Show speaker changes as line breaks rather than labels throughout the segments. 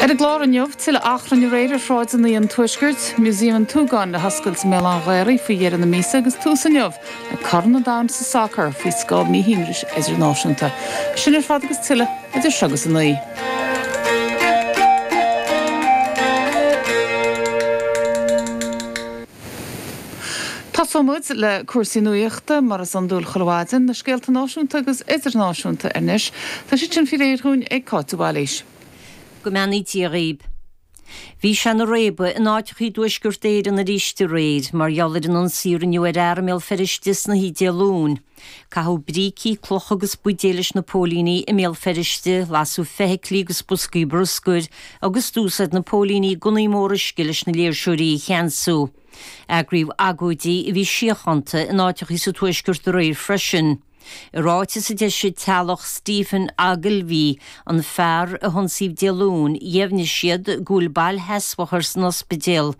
Ar an gclár inniu, tuilleadh achrainn aréir ar shráideanna an Tuaiscirt, Músaem an tSúgáin le hoscailt i mBéal Átha an Ghaorthaidh faoi dheireadh na míosa agus tús inniu le Corn an Domhain sa sacar faoi scáth míthimpris idirnáisiúnta. Sin ar fad agus tuilleadh idir seo agus a 9. Tosóidh muid le cúrsaí nuachta, mar is iondúil chuile mhaidin, na scéalta náisiúnta agus idirnáisiúnta anois. Tá siad sin faoi réir dhúinn ag Cáit de Bhailís.
Go mbeannaí Dia dhaoib. Bhí sé ina réabadh in áiteachaí i dTuaisceart Éireann arís aréir mar gheall ar an ionsaí a rinneadh ar fhear i mBéal Feirste sna hoíche Dé Luain. Caitheadh brící, clocha agus buidéil leis na póilíní i mBéal Feirste, lasadh feithiclí agus boscaí bruscair agus d'úsáid na póilíní gunnaí móra uisce leis na léirseoirí a cheansú. Eagraíodh agóidí a bhí síochánta in áiteachaí sa Tuaisceart aréir freisin. I ráiteas a d'eisigh teaghlach Stephen Ogilvie, an fear a hionsaíodh Dé Luain, dheimhnigh siad go bhfuil bail sheasmhach air san ospidéal.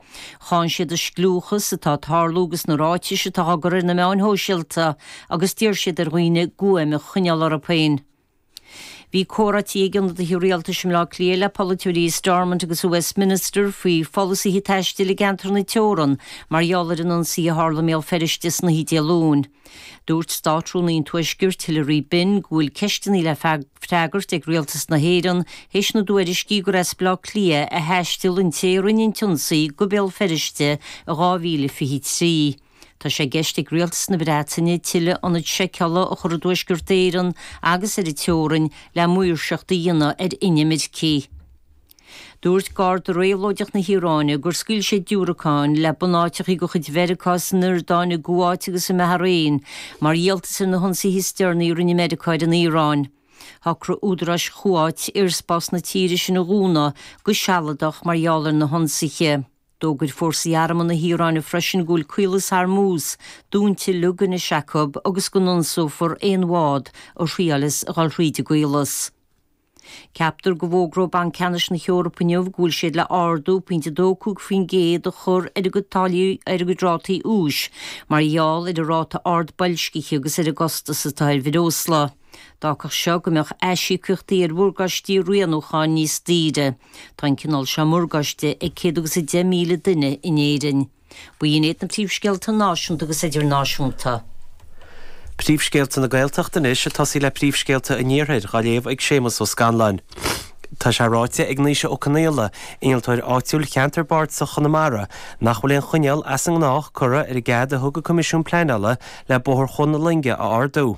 Cháin siad an scliúchas atá ag tarlú agus na ráitis atá á gcur ar na meáin shóisialta agus d'iarr siad ar dhaoine guaim a choinneáil orthu féin. Bhí comhráití ag ionadaithe rialtais i mBleá Cliath le polaiteoirí i Stormont agus i Westminster faoi pholasaithe taistil i gceantar na teorann mar gheall ar an ionsaí a tharla i mBéal Feirste san oíche Dé Luain. Dúirt Státrúnaí an Tuaiscirt, Hilary Benn, go bhfuil ceisteanna le freagairt ag rialtas na hÉireann théis na dtuairiscí gur as Bleá Cliath a thaistil an té a rinne an t-ionsaí go Béal Feirste i 2023. Tá sé i gceist ag Rialtas na Breataine tuilleadh ionad seiceála a chur i dTuaisceart Éireann agus ar an teorainn le maoirseacht a dhéanamh ar inimircigh. Dúirt Garda Réabhlóideach na hIaráine gur scaoil siad diúracáin le bunáiteachaí de chuid Mheiriceá san Iordáin, i gCuáit agus i mBahrain mar dhíoltas ar na hionsaithe is deireanaí a rinne Meiriceá ar an Iaráin. Shocraigh údaráis Chuáit aerspás na tíre sin a dhúnadh go sealadach mar gheall ar na hionsaithe. D'fhógair fórsaí armtha na hIaráine freisin go bhfuil Caolas Hormuz dúnta uilig anois acu agus go n-ionsófar aon bhád a thriaileas a dhul thríd an gcaolas. Ceaptar go bhfógróidh Banc Ceannais na hEorpa inniu go bhfuil siad le ardú pointe 2.5% a chur ar a gcuid táillí ar a gcuid rátaí úis mar gheall ar an ráta ard boilscithe agus ar an gcostas atá ar bhreosla. D'fhágfadh seo go mbeadh aisíocaíochtaí ar mhorgáistí rianúcháin níos daoire. Tá an cineál seo morgáiste ag 110,000 duine in Éirinn. B'in iad na príomhscéalta náisiúnta agus idirnáisiúnta.
Príomhscéalta na Gaeltachta anois, ag tosaí le príomhscéalta an Iarthair, dhá léamh ag Séamus Ó Scanláin. Tá sé ráite ag Naoise Ó Conaola, innealtóir áitiúil Cheantar Bardasach Chonamara, nach bhfuil aon choinníoll as an ngnách curtha ar an gcead a thug an Coimisiún Pleanála le Bóthar Chuan na Loinge a ardú.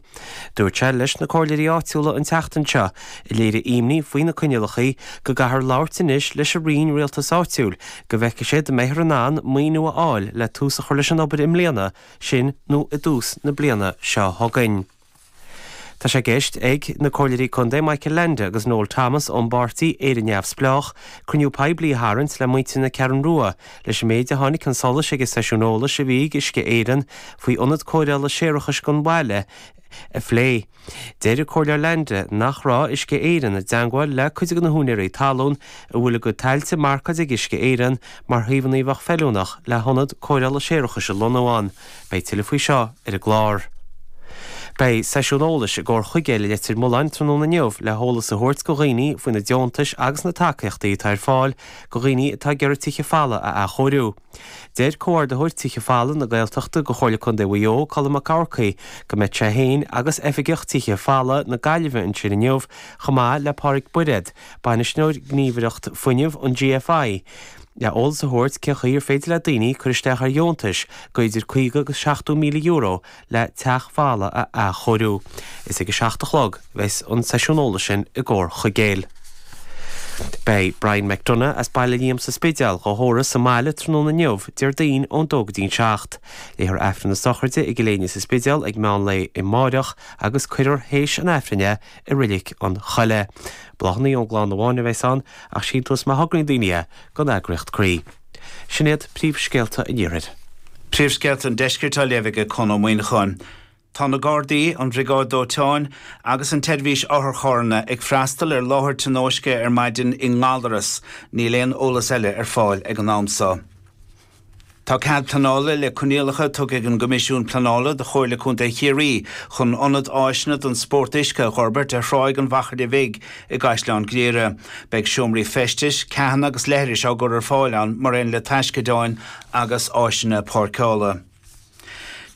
Dúirt sé leis na comhairleoirí áitiúla an tseachtain seo, a léirigh imní faoi na coinníollacha, go gcaithfear labhairt anois leis an Roinn Rialtais Áitiúil go bhfeicfidh siad an mbeifear in ann maoiniú a fháil le tús a chur leis an obair i mbliana, sin nó i dtús na bliana seo chugainn. Tá sé i gceist ag na Comhairleoirí Contae Michael Leainde agus Noel Thomas ón bpáirtí Éire Neamhspleách cruinniú poiblí a tharraingt le muintir na Ceathrún Rua leis an méid a tháinig chun solais ag an seisiún eolais a bhí ag Uisce Éireann faoi ionad cóireála séarachais don bhaile a phlé. Deir an Comhairleoir Leainde nach raibh Uisce Éireann i dteangmháil le cuid de na húinéirí talún a bhfuil a gcuid tailte marcáilte ag Uisce Éireann mar shuíomhanna a bheadh feiliúnach le hionad cóireála séarachais a lonnú ann. Beidh tuilleadh faoi seo ar an gclár. Beidh seisiún eolais i gComhar Chuigéil i Leitir Mealláin tráthnóna inniu le heolas a thabhairt go dhaoine faoi na deontais agus na tacaíochtaí atá ar fáil go dhaoine atá ag iarraidh tithe folamh a athchóiriú. Deir Comhordaitheoir Tithe Folmha na Gaeltachta go Chomhairle Contae Mhaigh Eo, Colm Mac Eachmharcaigh, go mbeidh sé féin agus Oifigeach Tithe Folmha na Gaillimhe ansin inniu chomh maith le Pádraig Bairéad, Bainisteoir Gníomhaireacht Fuinnimh an GFI, le eolas a thabhairt cén chaoi ar féidir le daoine cur isteach ar dheontais go idir 50 agus 70 míle euro le teach folamh a athchóiriú. Is ag a 7 a chlog a bheas an seisiún eolais sin i gComhar Chuigéil. Beidh Brian McDonagh as Baile Liam sa Spidéal dhá thórramh sa mbaile tráthnóna inniu, Déardaoin, ón dó go dtí'n 7. Léifear Aifreann na sochraide i gCill Éinne sa Spidéal ag meán lae amáireach agus cuirfear théis an Aifrinn é i Reilig an Choilligh. Bláthanna ón gclann amháin a bheas ann ach síntiús má thograíonn daoine é don eagraíocht Croí. Sin iad príomhscéalta an Iarthair.
Príomhscéalta an Deiscirt á léamh aige Con Ó Muíneacháin. Tá na Gardaí, an Bhriogáid Dóiteáin agus an tSeirbhís Otharcharranna ag freastal ar láthair tionóisce ar maidin i nGallaras. Níl aon eolas eile ar fáil ag an am seo. Tá cead pleanála le coinníollacha tugtha ag an gCoimisiún Pleanála do Chomhairle Contae Chiarraí chun ionad áiseanna don spórt uisce a dh'fhorbairt ar Thráigh an Mhachaire Bhig i gCaisleán Ghriaire. Beidh seomraí feistis, ceathanna agus leithris á gcur ar fáil ann mar aon le taisceadáin agus áiseanna páirceála.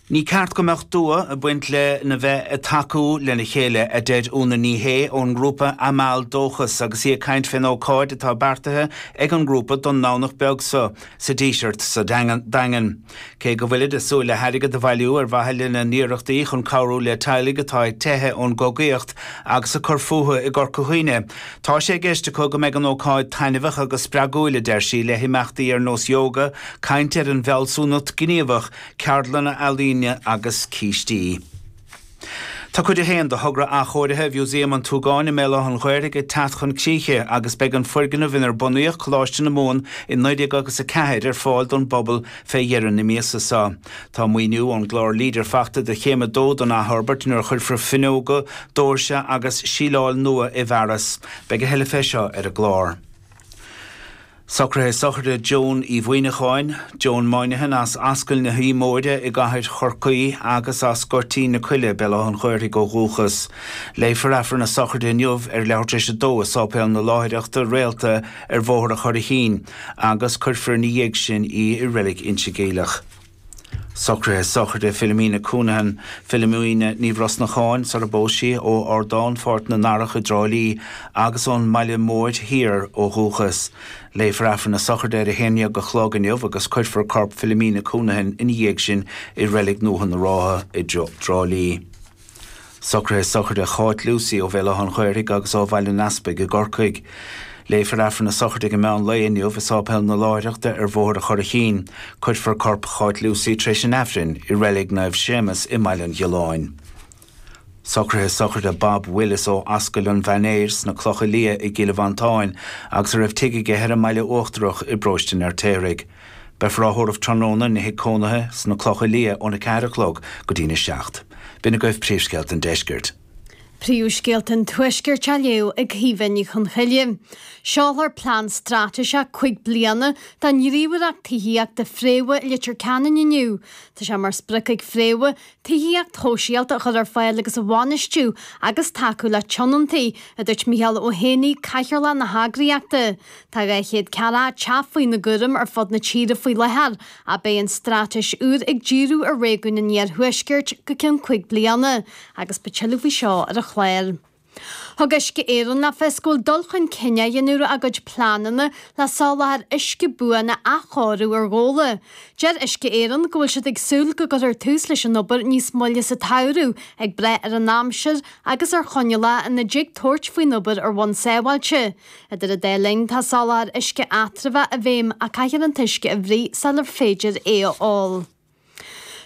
Ní ceart go mbeadh dua ag baint le na bheith ag tacú lena chéile, a deir Úna Ní Shé ón ngrúpa Amal Dóchas agus í ag caint fén ócáid atá beartaithe ag an ngrúpa don nDomhnach beag seo sa Díseart sa Daingean. Cé go bhfuilid ag súil le hairgead a bhailiú ar mhaithe lena n-iarrachtaí chun cabhrú le teaghlaigh atá ag teitheadh ón gcogaíocht agus ag cur fúthu i gCorca Dhuibhne, tá sé i gceist acu go mbeidh an ócáid taitneamhach agus spreagúil, a deir sí, le himeachtaí ar nós yoga, caint ar an bhfealsúnacht ghníomhach, ceardlanna ealaíne agus cístí. Tá cuid a haon de thogra athchóirithe Mhúsaem an tSúgáin i mBéal Átha an Ghaorthaidh ag teacht chun críche agus beidh an foirgneamh inar bunaíodh Coláiste na Mumhan i 1904 ar fáil don bpobal fé dheireadh na míosa seo. Tá maoiniú ón gclár Leader fachta do chéim a dó don athfhorbairt nuair a chuirfear fuinneoga, doirse agus síleáil nua i bhfearas. Beidh a thuilleadh fé seo ar an gclár. Socruithe sochraide Joan Uí Mhuineacháin, Joan Moynihan as Ascaill na hUí Móire i gCathair Chorcaí agus as Goirtín na Coille, Béal Átha an Ghaorthaidh ó dhúchas. Léifear Aifreann a sochraide inniu ar leathuair tar éis a dó i Sáipéal na Láithreachta Réalta ar Bhóthar an Churraichín agus cuirfear ina dhiaidh sin í i Reilig Inse Geimhleach. Socruithe sochraide Philomena Counihan, Philomena Ní Bhrosnacháin, sar a bpós sí, ó Ardán Pháirc na nDarach i dTrá Lí agus ón mBaile Móir Thiar ó dhúchas. Léifear Aifreann a sochraide ar a haon dhéag a chlog inniu agus cuirfear corp Philomena Counihan ina dhiaidh sin i Reilig Ndúiche na Rátha i dTrá Lí. Socruithe sochraide Cháit Lucey ó Bhéal Átha an Ghaorthaidh agus ó Bhaile an Easpaig i gCorcaigh. Léifear Aifreann a sochraide ag an meán lae inniu i Sáipéal na Láithreachta ar Bhóthar an Churraichín. Cuirfear corp Cháit Lucey tar éis an Aifrinn i Reilig Naomh Séamus i mBaile an Ghiolláin. Socruithe sochraide Bob Willis ó Ascaill an Mhainéir sna Clocha Liath i gCill Mhantáin agus a raibh tigh aige ar an mBaile Uachtarach i bparóiste an Fheirtéaraigh. Beifear á thórramh tráthnóna ina thigh cónaithe sna Clocha Liath óna 4 a chlog go dtína 7. B'in agaibh príomhscéalta an deiscirt.
Príomhscéalta an Tuaiscirt á léamh ag Caoimhe Ní Chonchoille. Seolfar plean straitéiseach 5 bliana don ghníomhaireacht tithíochta Fréamha i Leitir Ceanainn inniu. Tá sé mar sprioc ag Fréamha tithíocht shóisialta a chur ar fáil agus a bhainistiú agus tacú le tionóntaí, a dúirt Micheál Ó hÉanaí, Cathaoirleach na heagraíochta. Tá 240 teach faoina gcúram ar fud na tíre faoi láthair ach beidh an straitéis úr ag díriú ar réigiún an iarthuaiscirt go ceann 5 bliana agus beidh tuilleadh faoi seo ar an chlár. Thug Uisce Éireann le fios go bhfuil dul chun cinn á dhéanamh ar a gcuid pleananna le soláthar uisce buan a athchóiriú ar Ghabhla. Deir Uisce Éireann go bhfuil siad ag súil go gcuirfear tús leis an obair níos moille sa tsamhradh, ag brath ar an aimsir agus ar choinníollacha ina dtig tabhairt faoin obair ar bhonn sábháilte. Idir an dá linn, tá soláthar uisce eatramhach i bhfeidhm ach caithfear an t-uisce a bhruith sular féidir é a ól.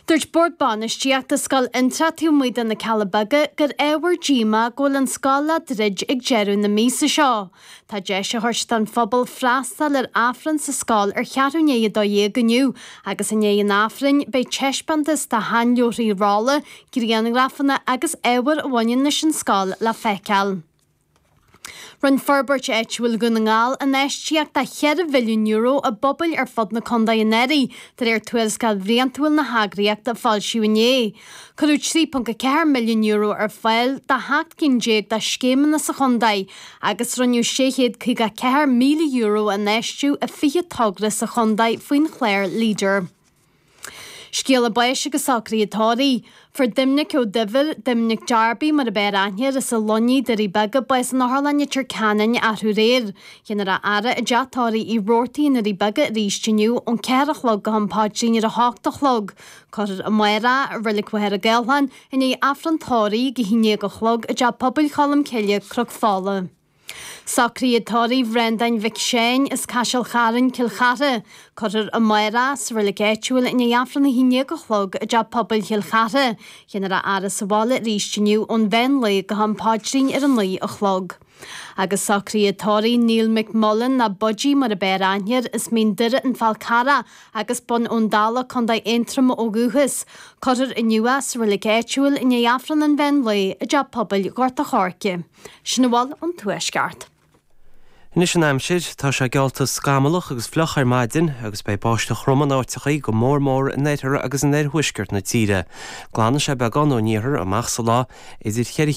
Dúirt Bord Bainistíochta Scoil Fhiontraí taobh amuigh de na Cealla Beaga gur ábhar díomá go bhfuil an scoil le druid ag deireadh na míosa seo. Tá deis á thabhairt don phobal freastal ar Aifreann sa scoil ar cheathrú i ndiaidh 12 inniu agus i ndiaidh an Aifrinn beidh taispeántas de sheanleabharthaí rolla, grianghrafanna agus ábhar a bhaineann leis an scoil le feiceáil. Rinne Forbairt Áitiúil Dhún na nGall infheistíocht de €4 mhilliún i bpobail ar fud na contae anuraidh, de réir tuarascáil bhliantúil na heagraíochta a foilsíodh inné. Cuireadh €3.4 milliún ar fáil do sheacht gcinn déag de scéimeanna sa chontae agus rinneadh €654,000 a infheistiú i 20 togra sa chontae faoin chlár Leader. Scéala báis agus socruithe tórraimh. Fuair Doimnic Ó Duibhir, Doimnic Darby mar ab fhearr aithne air, as an Luinnigh, Doirí Beaga, bás in Otharlann Leitir Ceanainn arú aréir. Déanfar a fhaire i dteach tórraimh Uí Robhartaigh i nDoirí Beaga arís inniu ón 4 a chlog go ham paidrín ar a hocht a chlog. Cuirfear amárach i Reilig Mhachaire Gathlán i ndiaidh Aifreann tórraimh ag a haon déag a chlog i dTeach Pobail Cholm Cille, Cnoc Fola. Socruithe tórraimh Bhreandáin Mhic Seáin as Caiseal Chairn, Cill Chartha. Cuirfear amárach sa reilig áitiúil i ndiaidh Aifreann a haon déag a chlog i dTeach Pobail Chill Chartha. Déanfar a fhaire sa bhaile arís inniu ón mheán lae go ham paidrín ar a naoi a chlog. Agus socruithe tórraimh Neil McMullen nó Budgie mar ab fhearr aithne air as Mín Doire an Fál Carrach agus Bun Abhann Dalla, Co. Aontroma ó dhúchas. Cuirfear inniu é sa reilig áitiúil i ndiaidh Aifreann an mheán lae i dTeach Pobail Ghort a' Choirce. Sin a bhfuil ón Tuaisceart.
Anois an aimsir, tá sé geallta scamallach agus fliuch ar maidin agus beidh báisteach throm in áiteachaí, go mór mór in oirthear agus in oirthuaisceart na tíre. Glanfaidh sé beagán ón iarthar amach sa lá, idir cheithre.